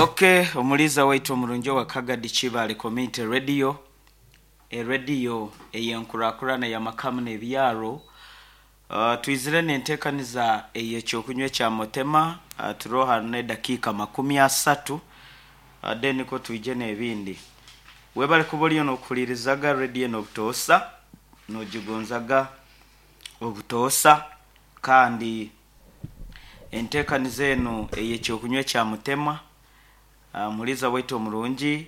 Ok, omuliiza waitu omurungi owa Kagadi Kibaale Community Radio, erediyo ey'enkurakurana y'amakamu n'ebyaro. Uh, twizire n'enteekaniza ey'ekyokunywa ekya Motema, uh, turiho hanu n'edakiika 30, uh, then nikwo twije n'ebindi. Webale kuba oriyo n'okuhuriirizaga rediyo enu obutoosa, n'ogigonzaga obutoosa, kandi Enteekaniza enu ey'ekyokunywa ekya Mutema, Omuhuriiza waitu omurungi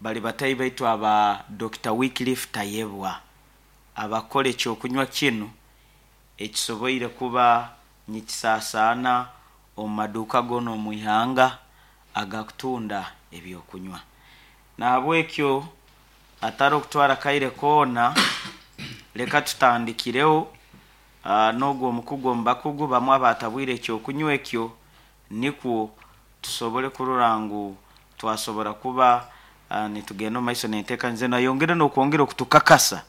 bari batahi baitu aba Dokita Wycliffe Tayebwa abakora ekyokunywa kinu ekisoboire kuba nikisaasaana omu maduuka goona omu ihanga agakutunda ebyokunywa. Nahabwekyo hatariho kutwara kaire koona, leka tutandikireho N'ogwo omukugu omu bakugu bamwe abaatabwire eky'okunywa ekyo, nikwo tusobole kurora ngu twasobora kuba nitugenda omu maiso n'enteekaniza enu, ayongere n'okwongera okutukakasa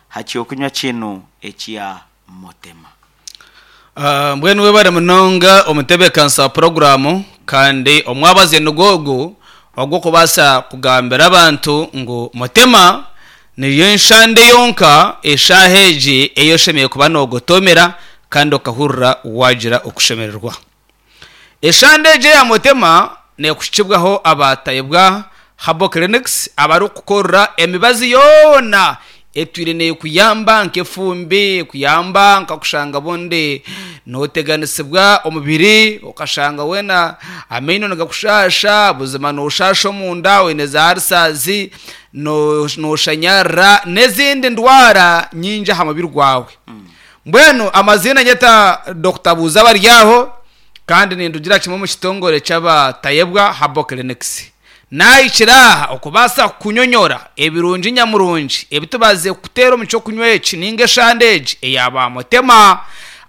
ha ky'okunywa kinu ekya Motema. Mbwenu webare munonga omutebeekanisa wa puroguraamu kandi omwabazyo nigwo ogu ogw'okubaasa kugambira abantu ngu Motema Niyo enshande yonka eshaaha egi ei oshemereire kuba noogotoomera kandi okahurira waagira okushemererwa. Eshande egi eya Motema neekuhikibwaho aba Tayebwa Herbal Clinics abarikukukorera emibazi yoona etwire neekuyamba nk'efumbi, ekuyamba nkakushanga obundi nooteganisibwa omubiri okashanga weena amaino nigakushaasha, buzima nooshaasha omunda oine za ulcers. Nooshanyarara n'ezindi ndwara nyingi aha mubiri gwawe. Mbwenu amaziina nyeta Dokita Buuza Baryaho kandi nindugira kimwe omu kitongore ky'aba Tayebwa Herbal Clinics. Naahikire aha okubaasa kukunyonyora ebirungi nyamurungi ebi tubazize kukuteera omu ky'okunywa eki nainga eshande egi eya ba Mutema.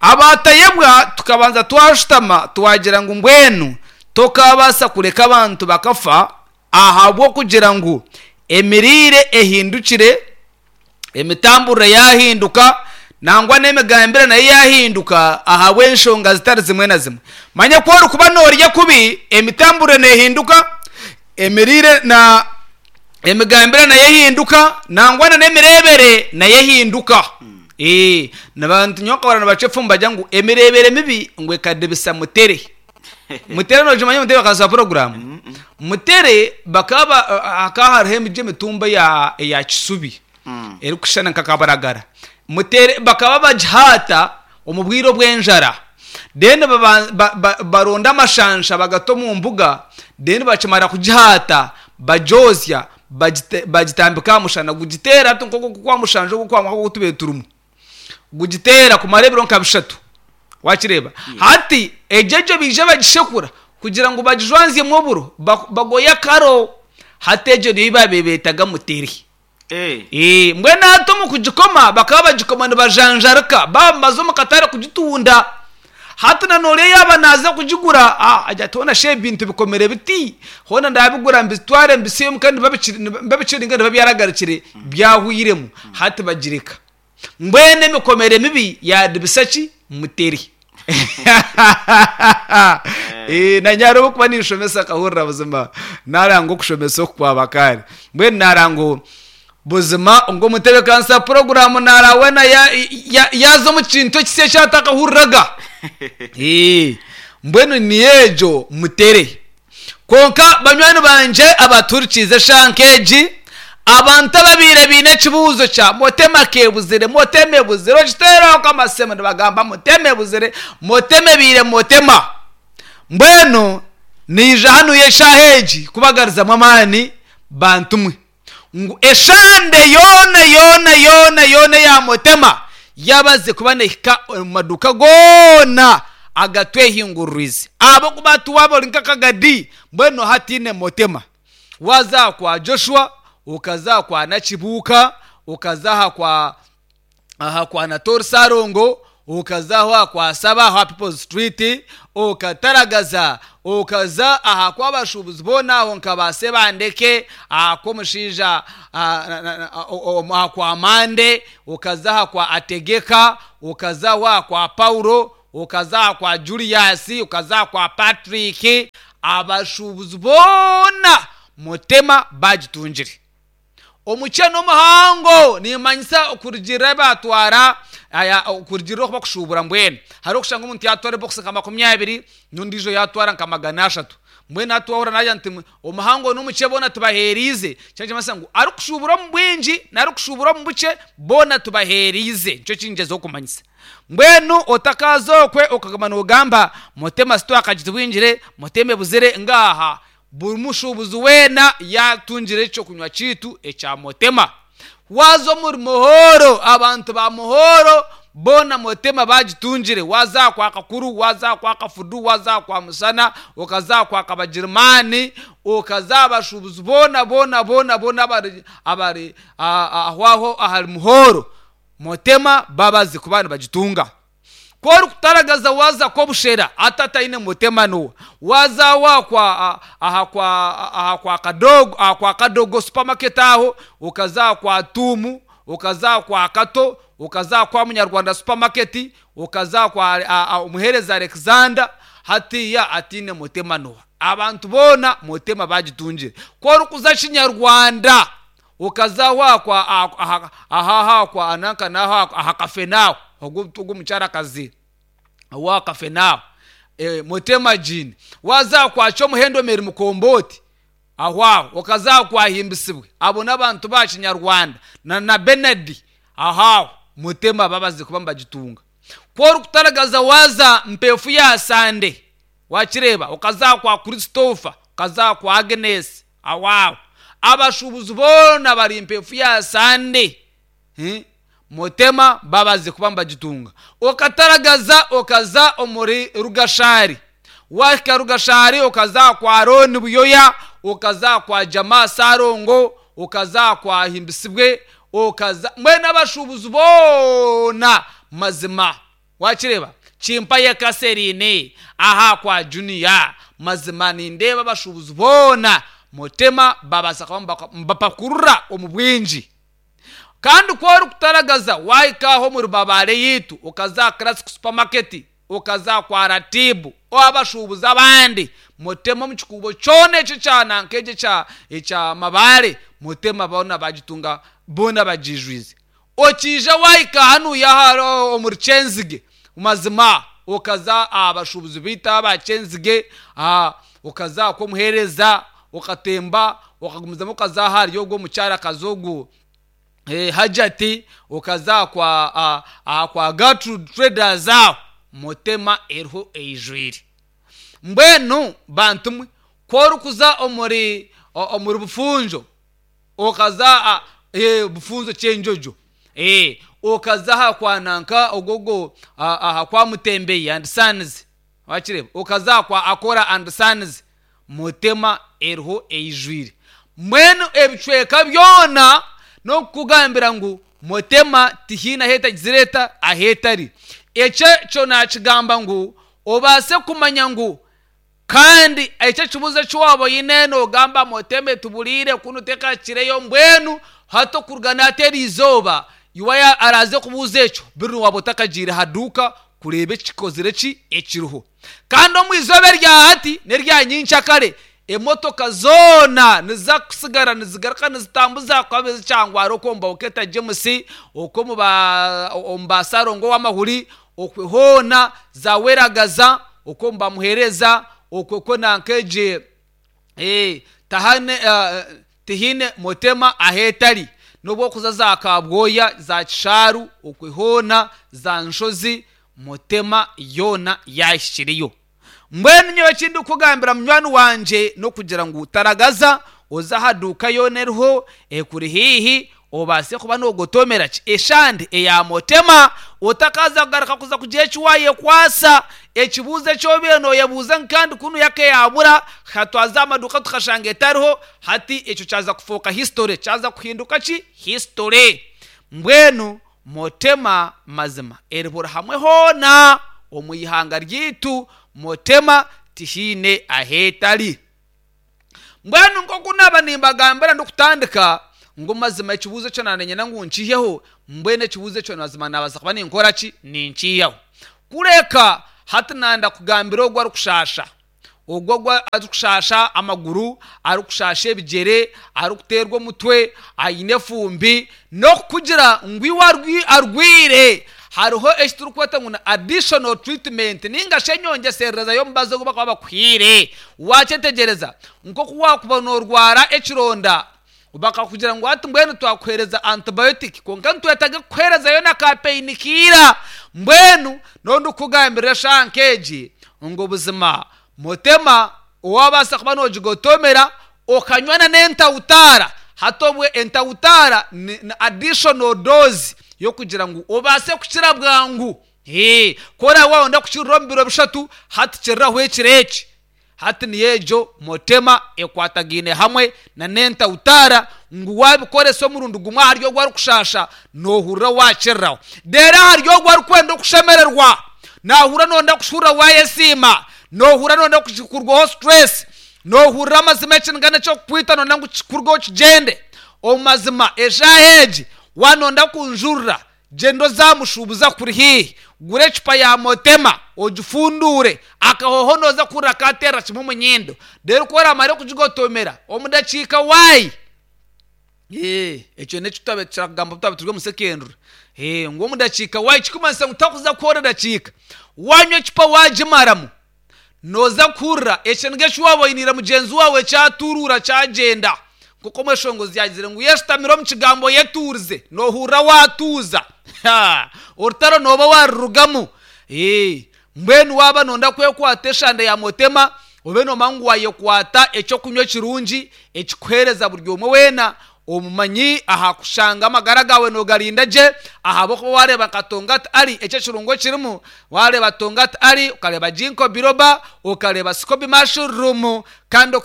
Aba Tayebwa tukabanza twashutama twagira ngu mbwenu tokaabaasa kureka abantu bakafa Ahabw'okugira ngu emiriire ehindukire, emitamburire yaahinduka, nangwa n'emigambire nayo yaahinduka ahabw'enshonga zitari zimwe na zimwe. Manya ku orikuba noorya kubi, emitamburire neehinduka, emiriire na emigambire nayo ehinduka, nangwa na n'emireebere nayo ehinduka. Ee, nibantu nyowe nkahurira nibacwa efumu nibagira ngu emireebere mibi ngu ekadibisa mutere. Mutere nokimanya Mutere bakaza puroguramu. Mutere bakaba hakaba hariho emiti emitumba eya eya kisubi erikushushana nka kabaragara. Mutere bakaba bagihaata omu bwire obw'enjara then baronda amashansha bagata omu mbuga then bakimara kugihaata bagyozya bagitambika aha mushana gugiteera hati nk'oku oku kwa mushanja ogu oku tubaire turimu. Gugiteera kumara ebiro nka bishatu. Wakireeba? Hati egyo egyo baija bagishekura kugira ngu bagijwanzyemu oburo, bagoye akaro. Hati egyo niyo ei baabaire beetaga mutere. Ee, mbwenu hati omu kugikoma bakaba bagikoma nibajanjarika baaba nibaza omu katare kugitunda. Hati na n'oriya yaaba naaza kugigura, agira ati hoona shi ebi bintu bikomire biti? Hoona ndaabigura mbitware mbisibe omuka nibabikire ninga nibiba byaragarukire byahwairemu. Hati bagireka. Mbwenu emikomere mibi yaadibisa ki? Mutere. Naanye hariho obu ndikuba ninshomesa nkahurira buzima naaranga okushomesa oku kwaba kare. Mbwenu naaranga ngu buzima ngu omutebeekanisa wa puroguraamu naaraba weena yaaza omu kintu ekisya eki atakahuriraga. Mbwenu niyo egyo mutere. Kwonka banywani bangye abatuhurikiize eshaaha nk'egi, abantu ababaire baine ekibuuzo kya Motema kebuzire, Motema ebuzire, okiteeraho nk'amasimu nibagamba Motema ebuzire, Motema ebaire Motema. Mbwenu naija hanu eshaaha egi kubagarizamu amaani bantu mwe. Ngu eshande yoona yoona yoona yoona eya Motema yabaze kuba nehika omu maduuka goona agatwehinguririize ahabw'okuba hati waaba ori nk'akagadi mbwenu hataine Motema. Waaza aha kwa Joshua, okaza aha kwa Nakibuuka, okaza aha kwa aha kwa Natori Sarongo, okaza aho aha kwa Saba aho aha People's Street, okataragaza okaza aha kw'abashuubuzi boona aho nka ba Sebandeke, aha kw'omushaija aha kwa Mande, okaza aha kwa Ategeka, okaza aho aha kwa Paulo, okaza aha kwa Julius, okaza aha kwa Patrick. Abashuubuzi boona Mutema baagitungire. Omukye n'omuhango nimmanyisa okurugiirira ahi baatwara okurugiirira oku bakushuubura mbwenu. Hariho okushanga omuntu yaatwara ebokisi nka 20 n'ondiijo yaatwara nka 300. Mbwenu hati twahurira naagira nti omuhango n'omukye boona tubaheereize, kyo nikimanyisa ngu arikushuubura omu bwingi n'arikushuubura omu bukye boona tubaheereize. Nikyo eki ningyezaho kumanyisa. Mbwenu otakaaza okwe okaguma noogamba Mutema sitwakagitubingire, Mutema ebuzire, ngaaha. Buri mushuubuzi weena yaatungire eky'okunywa kyaitu ekya Motema. Waaza omuri Muhoro, abantu ba Muhoro boona Motema baagitungire. Waaza aha kwa Kakuru, waaza aha kwa Kafudu, waaza aha kwa Musana, okaza aha kwa Kabagirimaani, okaza aha bashuubuzi boona boona boona boona abari abari aho aho ahari Muhoro, Motema babazi kuba nibagitunga. Ku orikutaragaza waaza Kobushera ati ataine mutema noa. Waaza aho aha kwa aha kwa aha kwa Kadogo aha kwa Kadogo supermarket aho, okaza aha kwa Tuumu, okaza aha kwa Kato, okaza aha kwa Munyarwanda supermarket, okaza aha kwa Omuheereza Alexander, hatiiya ataine mutema noa. Abantu boona mutema baagitungire. Ku orikuza Kinyarwanda Okaza aho aha kwa aha aha aha kwa nanka n'aho aha Kafenaaho, ogwo ogwo omukyarakazi owa Kafenaaho, eh, Mutema Jean. Waaza aha kwa Kyomuhendo Mary Mukombooti, aho aho, okaza aha kwa Himbisibwe, abo n'abantu ba Kinyarwanda, na na Benard, aho aho, Mutema babaziire kuba nibagitunga. Ku orikutaragaza waaza Mpeefu ya Sande, Wakireeba? Okaza aha kwa Christopher, okaza aha kwa Agnes, aho aho. Abashuubuzi boona bari mpeefu ya Sande. Hi? Mutema babaze kuba nibagitunga. Okataragaza okaza omuri Rugashari. Wahika Rugashari okaza aha kwa Arooni Buyoya, okaza aha kwa Jamaa Sarongo, okaza aha kwa Himbisibwe, okaza mbwenu abashuubuzi boona mazima. Wakireeba? Kimpaye Kaserine aha kwa Junior. Mazima nindeeba abashuubuzi boona Mutema babaasa kuba nibapakurura omu bwingi. Kandi ku orikutaragaza waahika aho omuri Mabaare yaitu okaza aha Classic Supermarket, okaza aha kwa Ratibu, abashuubuzi abandi Mutema omu kikuubo kyona ekyo ekya nanka egyo ekya ekya Mabaare, Mutema boona bagitunga boona bagiijwize. Okiija waahika hanuya aha omuri Kyenzige, mazima okaza aha bashuubuzi baitu aba Kyenzige, okaza aha kw'omuheereza, okatemba okagumizamu okaza ahari ogwo omukyarakazi ogwo Hajati, okaza aha kwa aha kwa Gertrude Traders aho, Mutema eriho eijwire. Mbwenu bantu mwe, ku orikuza omuri omuri Bufunjo, okaza a eh, bufunzo kyenjojo eh, okaza aha kwa nanka ogogo aha kwa Mutembeyi and Sons wakireba okaza aha kwa Akora and Sons Mutema eriho eijwire mbwenu ebicweka byona n'okukugambira ngu Mutema tihaine ahu etagizire eta ahu etari ekyo kyo nakigamba ngu obaase kumanya ngu Kandi ekyo ekibuuzo eki waaba oine noogamba Mutema etuburiire kunu tekakireyo mbwenu hati okuruga nahati eri izooba iwe araaze kubuuza ekyo biri waaba otakagiire ha duuka kureeba ekikozire ki ekiriho. Kandi omu izooba erya hati n'erya nyenkyakare emotoka zoona niziza kusigara nizigaruka nizitambuza kuba zikyangwara okwo omu Bawuketa James, okwo omu ba Sarongo ow'amahuri, Okwe hoona za weragaza okwo nibamuhereza okwe kwo nanka egye eh, tahane eh, tihaine mutema ahetari nobu okuza za kabwoya za kishaaru okwe hoona za nshozi mutema yoona yahikireyo. Mbwenu nyowe eki ndikukugambira munywani wangye n'okugira ngu taragaza oze aha duuka yoona eriho ekuri haihi obaase kuba noogotomera ki eshande eya Motema otakaaza kugaruka kuza kugira eki waayekwatsa. Ekibuuzo eki obaire nooyebuuza ngu kandi kunu yaka yaabura, ha twaza aha maduuka tukashanga etariho, hati ekyo kyaza kufooka history, kyaza kuhinduka ki? History. Mbwenu Motema mazima eri buri hamwe hoona omu ihanga ryaitu, Motema tihaine ahu etari. Mbwenu nk'oku naaba nimbagambira ndikutandika ngu mazima ekibuuzo ekyo naaniinyenda ngu nkiiheho, mbwenu ekibuuzo ekyo mazima naabaasa kuba ninkora ki? Ninkiihaho. Kureka hati nanda kugambira ogwo arikushaasha. Ogwo ogu arikushaasha amaguru, arikushaasha ebigyere, arikuteerwa omutwe, aine efumbi, n'okukugira ngu iwe arwaire, hariho eki turikweta ngu ni additional treatment nainga shi enyongyeserereza y'omubazi ogu barikuba bakuhaire. Waakyetegyereza? Nk'oku waakuba noorwara ekironda bakakugira ngu hati mbwenu twakuheereza antibiotic kwonka nitwetaaga kukuheerezayo na ka pain killer. Mbwenu n'obu ndikukugambirira eshaaha nk'egi ngu buzima Mutema owabaasa kuba nogigotomera okanywa na n'entawutaara. Hati obwe entawutaara ni additional dose y'okugira ngu obaase kukira bwangu. Ku oraabe waayenda kukirira omu biro bishatu, hati kiriraho ekiro eki. Hati niyo egyo Mutema ekwatagaine hamwe na n'entawutaara ngu waabikoresa omurundi gumwe ahari ogwo arikushaasha, noohurira waakiriraho. Reero ahari ogwo arikwenda okushemererwa, Naahurira nooyenda kushurira waayesiima, noohurira nooyenda kukurwaho stress, noohurira amazima ekiniga n'eky'okukwita nooyenda ngu kikurweho kigyende. Omu mazima eshaaha egi waaba nooyenda kunjurira, gyenda oze aha mushuubuzi akuri haihi, gura ecupa ya Motema ogifunduure, akahooho nooza kuhurira kaateerera kimwe omu nyindo. Reero ku oraamare kugigotomera, omu dakiika waayi. Ekyo n'eki twabaire turakugamba twaba turi omu secondary. Ngu omu dakiika waayi kirikumanyisa ngu tokuza kuhurira edakiika. Waanywa ecupa waagimaramu, nooza kuhurira ekiniga eki waaba oiniire mugyenzi waawe kyaturuura kyagyenda. Nk'oku omweshongozi yaagizire ngu yeshutamire omu kigambo oyetuurize, noohurira waatuuza. Orutaro nooba waarurugamu. Mbwenu waaba nooyenda kwekwata eshande ya Motema, obe noomanya ngu waayekwata eky'okunywa ekirungi ekikuheereza buri omwe weena omumanyi aha kushanga amagara gaawe noogarinda gye ahabw'okuba waareeba nka Tongat Ali eki ekirungo ekirimu, waareeba Tongat Ali, okareeba Ginkgo Biloba, okareeba Scoby Mushroom kandi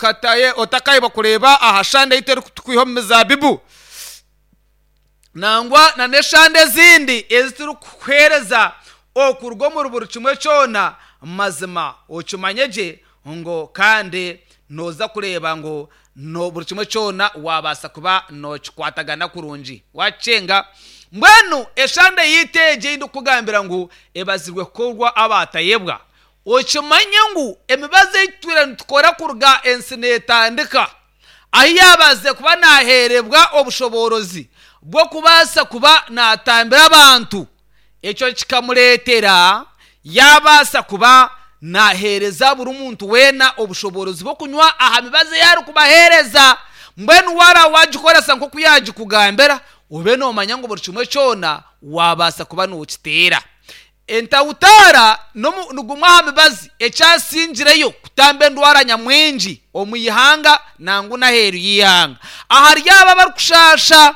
otakaayebwa kureeba aha shande ei turikwiha omu mizaabibu. Nangwa na n'eshande ezindi ezi turikukuheereza okuruga omuri buri kimwe kyona, mazima okimanye gye ngu kandi nooza kureeba ngu buri kimwe kyona waabaasa kuba nookikwatagana kurungi. Waakikyenga? Mbwenu eshande yaitu egi ei ndikukugambira ngu ebazirwe kukorwa abaatayebwa, okimanye ngu emibazi ei tutwire nitukora kuruga ensi neetandika, ahu yaabaasize kuba naaheerebwa obushoboorozi bw'okubaasa kuba naatambira abantu, ekyo kikamureetera yaabaasa kuba naaheereza buri muntu weena obushoboorozi bw'okunywa aha mibazi ei arikubaheereza. Mbwenu waaba waagikoresa nk'oku yaagikugambira, obe noomanya ngu buri kimwe kyona waabaasa kuba nookiteera. Entawutaara ni gumwe aha mibazi ekyasingireyo kutamba endwara nyamwingi omu ihanga nangwa n'aheeru y'eihanga ahari abo abarikushaasha.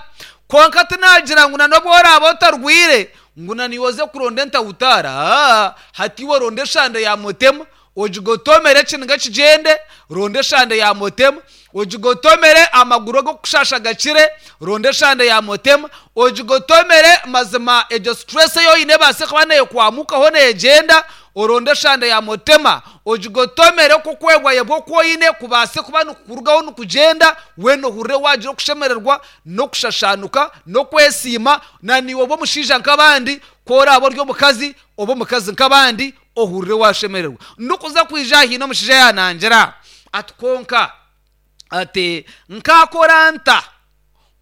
Kwonka tinagira ngu n'obu oraabe otarwaire ngu naiwe oze kuronda entawutaara. Aa, hati iwe ronda eshande ya mutema ogigotomere ekiniga kigyende, ronda eshande ya motema, ogigotomere amaguru ag'okukushaasha gakire, ronda eshande ya motema, ogigotomere mazima egyo stress ei oine ebaase kuba neekwamukaho neegyenda, oronde eshande ya motema, ogigotomere okwo okwebwayebwa oku oine kubaase kuba nikukurugaho nikugyenda, weena ohurire waagira okushemererwa n'okushashaanuka n'okwesiima, na naiwe obe omushaija nk'abandi, ku oraabe ori omukazi, obe omukazi nk'abandi, Ohurire waashemererwa. Ndikuza kwija aha haine omushaija yaanangira ati, Kwonka ati, nkaakora nta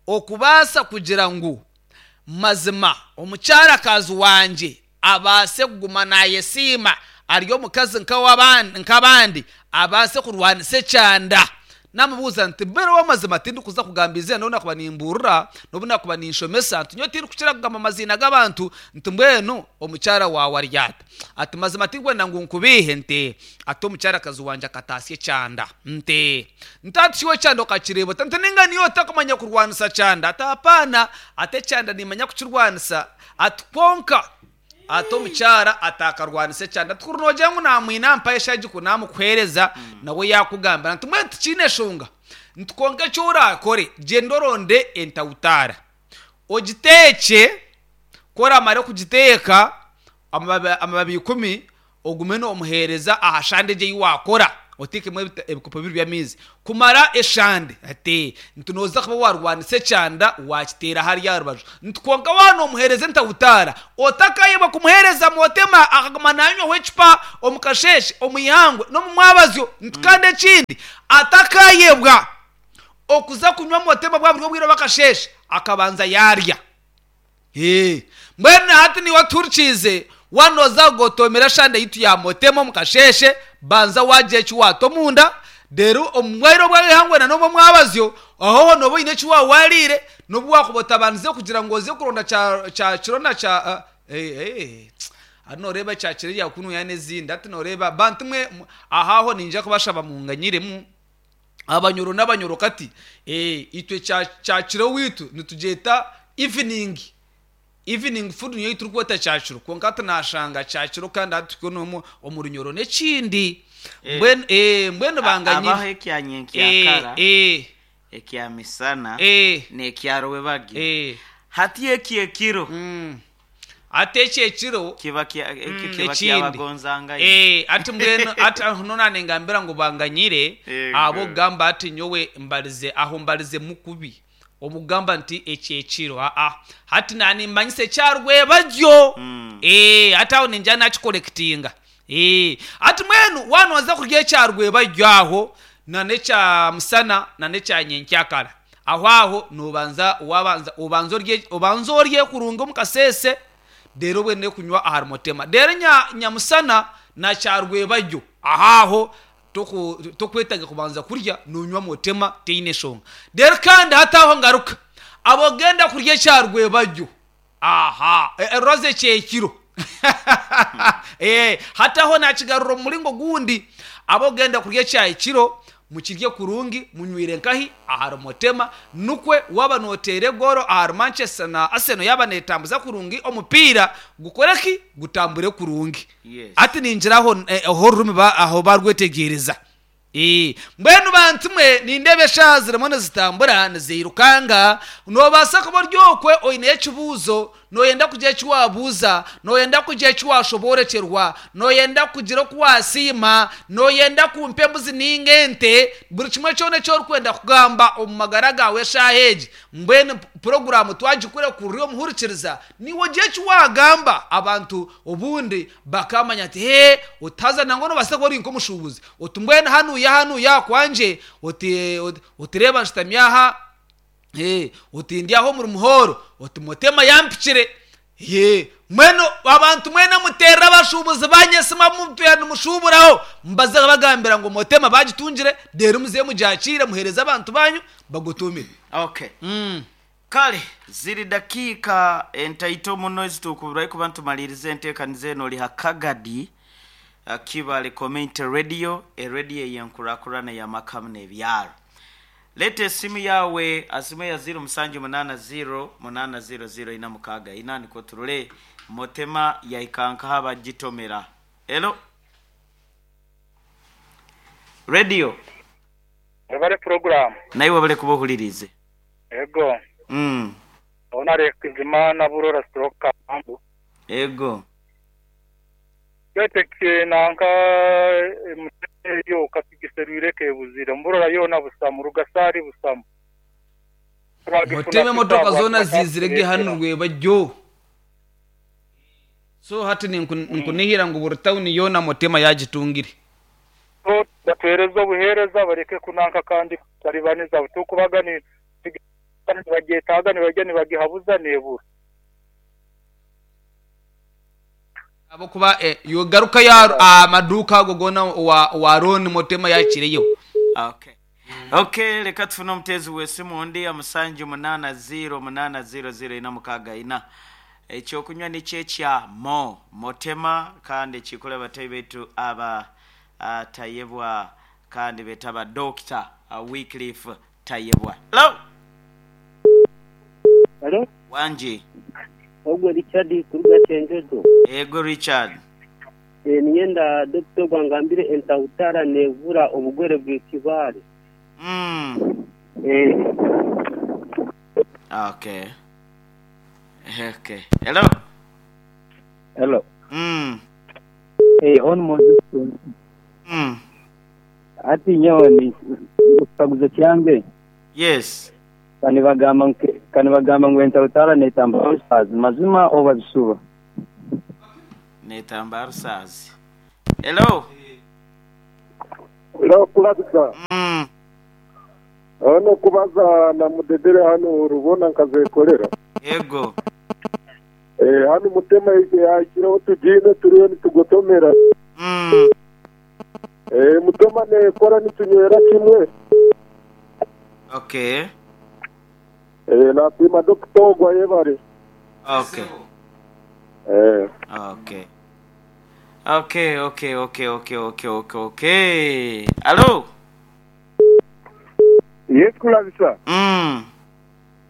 okubaasa kugira ngu mazima omukyarakazi wangye abaase kuguma naayesiima ari omukazi nk'abandi, abaase kurwanisa ekyanda? Naamubuuza nti, Mbwenu ow'amazima tindikuza kugamba eiziina n'obu naakuba nimbuurira, n'obu naakuba ninshomesa, nti nyowe tindikukira kugamba maziina g'abantu, nti mbwenu omukyara waawe ari ata? Ati, Mazima tindikwenda ngu nkubiihe, nti ati omukyarakazi wangye akataasya ekyanda. Nti, nti ati shi iwe ekyanda okakireeba ota? Nti nainga niiwe otakumanya kurwanisa kyanda? Ati apaana, ati ekyanda nimmanya kukirwanisa, ati kwonka Ati omukyara ataakarwanisa ekyanda. Ati kuri noogira ngu naamwine ampa eshagiko naamukuheereza nawe yaakugambira nti mbwenu tikiine nshonga. Nti kwonka eki oraakore gyenda oronde entawutaara ogiteekye, ku oraamare kugiteeka amababi amababi ikumi ogume noomuheereza aha shande egyo ei waakora. Oteekemu ebikopo bibiri by'amaizi kumara eshande. Ati, nti nooza kuba waarwanisa ekyanda waakiteera hariya aha rubaju. Nti kwonka waaba noomuheereza entahutaara, otakaayebwa kumuheereza mwotema akaguma naanywaho ecupa omu kasheeshe, omu ihangwe n'omu mwabazyo. Nti kandi ekindi, atakaayebwa okuza kunywa mwotema bwa buri obwire obw'akasheeshe akabanza yaarya. Ee, mbwenu na hati niiwe otuhurikiize, waaba nooza kugotoomera eshande yaitu ya Motema omu kasheeshe, banza waagira eki waata omunda, reero omu bwaire obw'eihangwe na n'omu mwabazyo, aho ho nooba oine eki waaba waariire, n'obu waakuba otabandize kugira ngu oze kuronda kya kya kiro na kya ee, hati nooreeba ekya kiro erya kunuya n'ezindi, hati nooreeba bantu mwe aho aho niinyija kubashaba munganyiremu. Abanyoro n'abanyoro kati eh, itwe kya kya kiro waitu nitugyeta evening evening food niyo turikweta kya kiro kwonka hati nashanga kya kiro kandi hati tuhikire n'omu omu runyoro n'ekindi Eh. mbwenu eh, mbwenu Abaho banganyire ekya eh, nyenkyakara eh, ekya misana eh, n'ekya rwebagyo eh, hati eki ekiro mm. Hati eki ekiro kiba kya ekyo kiba ekindi kyabagonzangayo Eh, ati mbwenu ati aho noona ningambira ngu banganyire Ego. ahabw'okugamba ati nyowe mbarize aho mbarizemu kubi omukugamba nti eki ekiro aa hati naanimmanyisa ekya rwebagyo Eh, hati aho ningira nakikorekitinga Eh, hati mbwenu waaba nooza kurya ekya rwebagyo aho na n'ekya musana na n'ekya nyenkyakara Aho aho noobanza waabanza obanze orye obanze orye kurungi omu kaseese reero obone kunywa ahari mutema. Reero nya nyamusana na kyarwebagyo aho aho toku tokwetaaga kubanza kurya noonywa mutema teine nshonga. Reero kandi hati aho ngaruka ab'ogenda kurya ekyarwebagyo aha roza ekyekiro hati aho naakigarura omu muringo gundi ab'ogenda kurya ekyahikiro Mukirye kurungi, munywire nkahi? Ahari Motema. Nukwe waaba nooteera egoolo ahari Manchester na Arsenal yaaba neetambuza kurungi omupiira gukore ki? Gutambure kurungi. Yes. Hati ningira aho aho orurimi ba aho baarwetegyereza. Ee, mbwenu bantu mwe nindeeba eshaaha zirimu nizitambura niziirukanga. Noobaasa kuba ori okwe oineyo ekibuuzo, nooyenda kugira eki waabuuza, nooyenda kugira eki waashoboorekyerwa, Nooyenda kugira oku waasiima? Nooyenda kumpa embuzi nainga ente? Buri kimwe kyona eki orikwenda kugamba omu magara gaawe eshaaha egi. Mbwenu puroguraamu twagikurekurira omuhurikiriza, naiwe ogire eki waagamba. Abantu obundi bakaamanya ati, Hee, oti haza nangwa noobaasa kuba ori nk'omushuubuzi. Oti mbwenu hanuya hanuya kwangye, oti oti reeba nshutami aha, Ee, oti ndi aha omuri muhooro, oti Mutema yampikire. Ee, mbwenu abantu mwena muteerere abashuubuzi baanyu esimu abu mutwire nimushuuburaho, mubaze bagambira ngu Mutema baagitungire, reero muzeyo mugyakiire muheereze abantu baanyu bagutuumire. Okay. Kale, ziri dakiika entaito muno ezitukuburayo kuba nitumaliiriza enteekaniza enu ori ha Kagadi Kibale Community Radio, erediyo ey'enkurakurana ey'amaka hamu n'ebyaro. Leeta esimu yaawe aha simu eya ziiro musanju munaana ziiro munaana ziiro ziiro ina mukaaga ina nikwo turore Motema yahika nkaha bagitomera. Hello Radio. Webale puroguramu. Naiwe webale kuba ohuririize. Ego. Ona Rekizimana Burora stroke Kambu. Ego. Twete nanka emusenyi eyo katugiserwire kebuzire Mburora yoona busamu, Rugasaari busamu. Twagifuna Mutema emotoka tuta zoona bwatuba ziizire ge hanu katureetera. rwebagyo. So hati ninkunihira ngu buri tawuni yoona Mutema yaagitungire. So batuheereze obuheereza bareke kunanka kandi kutaribaniza butukubaga nibagyetaaga nibaija nibagihabuza nebura. Ahabw'okuba yogarukayo aha maduuka ago goona owa Ron Mutema yaakireyo. Okay. Okay, leka tufune omuteezi w'esimu ondi aha musanju munaana ziiro munaana ziiro ziiro ina mukaaga ina. Ekyokunywa nikyo ekya Mo Motema kandi ekikuru abatahi baitu aba Tayebwa kandi beeta aba Dokita Wycliffe Tayebwa. Hello! Halo, Wangi. Ogwe Richard kuruga Kyenjojo. Ego Richard. Niinyenda Dokita ogu angambire entahutara neevura obugwere bw'ekibaare. Okay. Okay. Hello. Hello. Hon Moses. Hati nyowe ni ekikaguzo kyange. Yes. Ka nibagamba ka nibagamba ngu entarutara netamba ulcers, mazima oba bisuba? Netamba ulcers. Hello. Hello Kulabisa. Hano kubaza na Mudedere hanu Rubona nkazekolera. Yego. Eh, hanu Mutema yahikireho tugiine turiyo nitugotomera. Eh, Mutema nekora nitunywera kimwe. Okay. Eh, nasiima Dokita ogwo ayebare. Okay. Eh. Okay. Okay, okay, okay, okay, okay, okay, okay. Hello. Yes Kulabisa.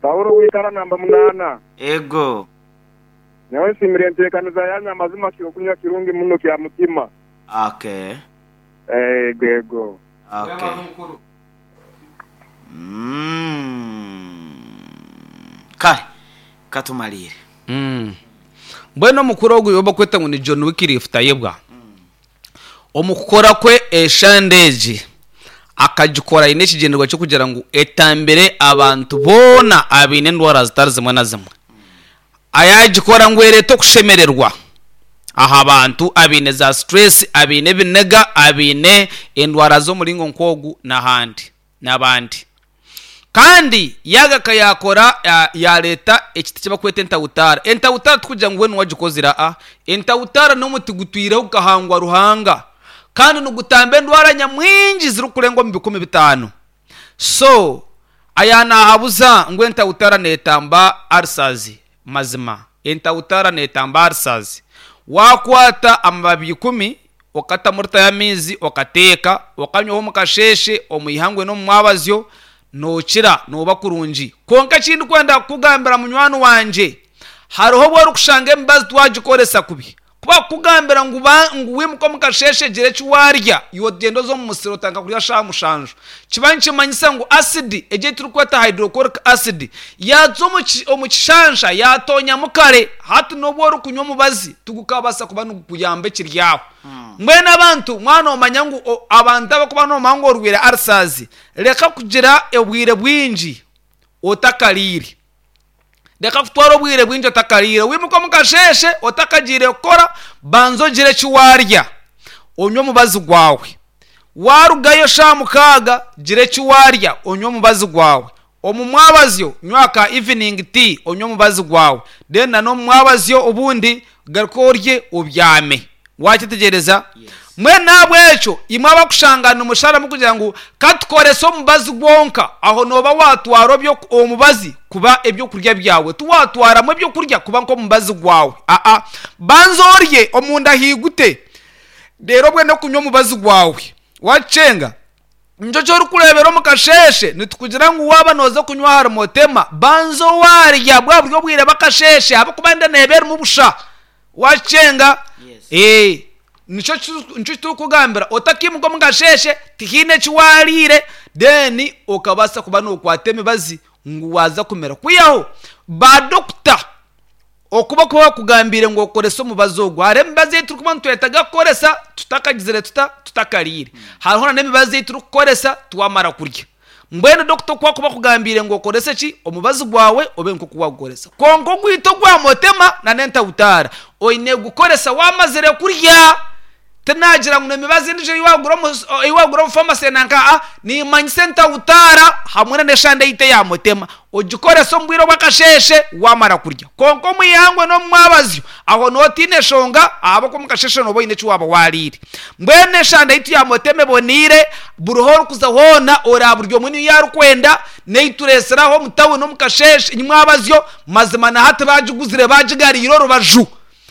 Paulo wikara namba munana. Ego. Nyowe nsiimire enteekaniza yanyu amazima kyokunywa kirungi muno kya mutima. Okay. Ego ego. Okay. Kare katumalire. Mbwenu omukuru ogu ou barikweta ngu ni John Wycliffe Tayebwa, omu kukora kwe eshande egi akagikora aine ekigyendererwa ky'okugira ngu etambire abantu boona abaine endwara zitari zimwe na zimwe. Yaagikora ngu ereete okushemererwa aha bantu abaine za stress, abaine ebiniga, abaine endwara z'omuringo nk'ogu n'ahandi n'abandi. Kandi yaagaruka yaakora yaareeta ekiti eki barikweta entawutaara. Entawutaara tikugira ngu weena owagikozire aa. Entawutaara n'omuti gutwireho gukahangwa Ruhanga kandi nigutamba endwara nyamwingi zirikurenga omu 5000. So aya naahabuza ngu entawutaara neetamba ulcers. Mazima entawutaara neetamba ulcers. Waakwata amababi ikumi okatamu rita y'amaizi okateeka, okanywaho omu kasheeshe, omu ihangwe n'omu mwabazyo, nookira nooba kurungi. Kwonka eki ndikwenda kukugambira munywani wangye, hariho obu orikushanga emibazi twagikoresa kubi. Ku bakukugambira ngu ba ngu wimuke omu kasheeshe gira eki waarya, iwe ogyenda oza omu musiri otandika kurya shaaha mushanju, kiba nikimanyisa ngu asidi egi ei turikweta hydrochloric acid yaaza omu ki omu kishansha yaatoonyamu kare. Hati n'obu orikunywa omubazi tigukabaasa kuba nigukuyamba ekiri aho. Mbwenu abantu mwaba noomanya ngu o abantu abarikuba noomanya ngu orwaire ulcers, reka kugira obwire bwingi otakariire. Reka kutwara obwire bwingi otakariire. Wimuke omu kasheeshe otakagiire kukora, banza ogire eki waarya, onywe omubazi gwawe. Waarugayo shaaha mukaaga, gira eki waarya, onywe omubazi gwawe. Omu mwabazyo, nywa ka evening tea, onywe omubazi gwawe. Then na n'omu mwabazyo obundi garuka orye obyame. Wakyetegyereza? Mbwenu n'ahabw'ekyo imwe abarikushanga nimusharamu kugira ngu ka tukorese omubazi gwonka, aho nooba waatwara omubazi kuba eby'okurya byawe, tiwaatwaramu eby'okurya kuba nk'omubazi gwawe. Aa, banza orye omunda haigute, reero obwene kunywa omubazi gwawe. Waakikyenga? Nikyo eki orikureebera omu kasheeshe nitukugira ngu waaba nooza kunywa ahari Motema, banza waarya bwa buri obwire bw'akasheeshe ahabw'okuba enda neeba erimu busha. Waakikyenga? Ee. Nikyo nikyo turikugambira otakiimuka omu kasheeshe tihaine eki waariire then okabaasa kuba nookwata emibazi ngu waaza kumira. Kwihaho baadokita Oku barikuba bakugambiire ngu okorese omubazi ogu. Hariho emibazi ei turikuba nitwetaaga kukoresa tutakagizire tuta? Tutakariire. Hariho nana emibazi ei turikukoresa twamara kurya. Mbwenu dokita oku akuba akugambiire ngu okorese ki? Omubazi gwawe obe nk'oku waagukoresa. Kwonka ogwita ogwa motema nana entawutaara, oine kugukoresa waamazire kurya. Tinagira ngu n'emibazi endiijo ei waagura omu ei waagura omu famase nanka aa, niimanyisa entawutaara hamwe na n'eshande yaitu eya mutema. Ogikorese omu bwire obw'akasheeshe waamara kurya. Kwonka omu ihangwe n'omu mwabazyo, aho nooba otaine nshonga ahabw'okuba omu kasheeshe nooba oine eki waaba waariire. Mbwenu eshande yaitu ya mutema eboneire, buriho orikuza hoona oraba buri omwe niyo arikwenda, n'ei tureetsire aha omu tawuni omu kasheeshe nyimwabazyo, mazima na hati baagiguzire baagigariire orubaju.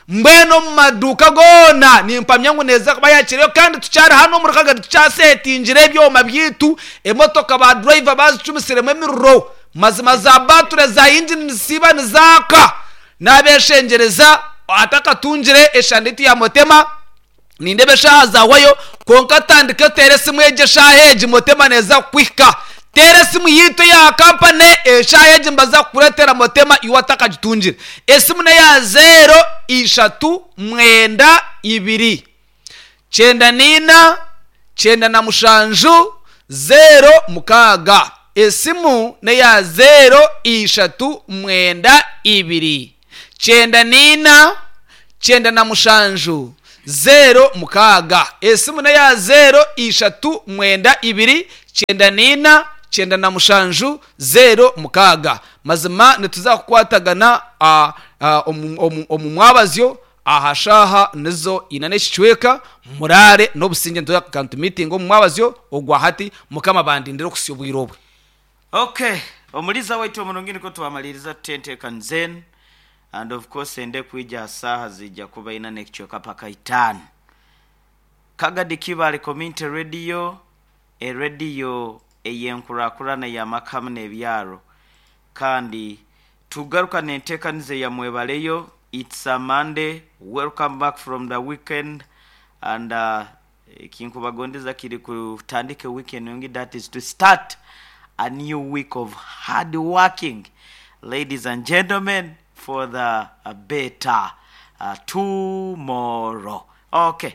Mbwenu omu maduuka goona nimpamya ngu neeza kuba yakireyo kandi tukyari hanu omuri Kagadi tukyasetingire ebyoma byaitu, emotoka ba driver bazicumisiremu emiriro, mazima za battery za engine nizisiiba nizaaka. Nabeshengyereza atakatungire eshande yaitu ya Motema, Nindeeba eshaaha zaahwayo, kwonka tandika oteere esimu egi eshaaha egi, Motema neeza kukuhika. Teera esimu yaitu eya kampani eshaaha egi nibaza kukureetera Motema iwe otakagitungire. Esimu n'eya zeero ishatu mwenda ibiri kyenda naina. 97, 06. Esimu n'eya zeero ishatu mwenda ibiri, 94, 97, 06. Esimu n'eya zeero ishatu mwenda ibiri, 94, 97, 06. Mazima nituza kukwatagana omu mwabazyo aha shaaha nizo ina n'ekicweka. Muraare n'obusingye, nituza kukantu miitingi omu mwabazyo ogwa hati. Mukama bandindire okuhitsya obwire obwe. Okay, omuliza waitu omurungi nikwo twamaliriza tuti enteekaniza enu and of course ende kwija aha saaha ziija kuba ina n'ekicweka paka itaano. Kagadi Kibaale Community Radio, erediyo ey'enkurakurana ey'amaka hamu n'ebyaro. Kandi tugaruka n'enteekaniza eya Mwebaleyo, It's a Monday, welcome back from the weekend and ekinkubagondeza kiri kutandika ewiiki enungi that is to start a new week of hard working ladies and gentlemen for the better tomorrow. Okay.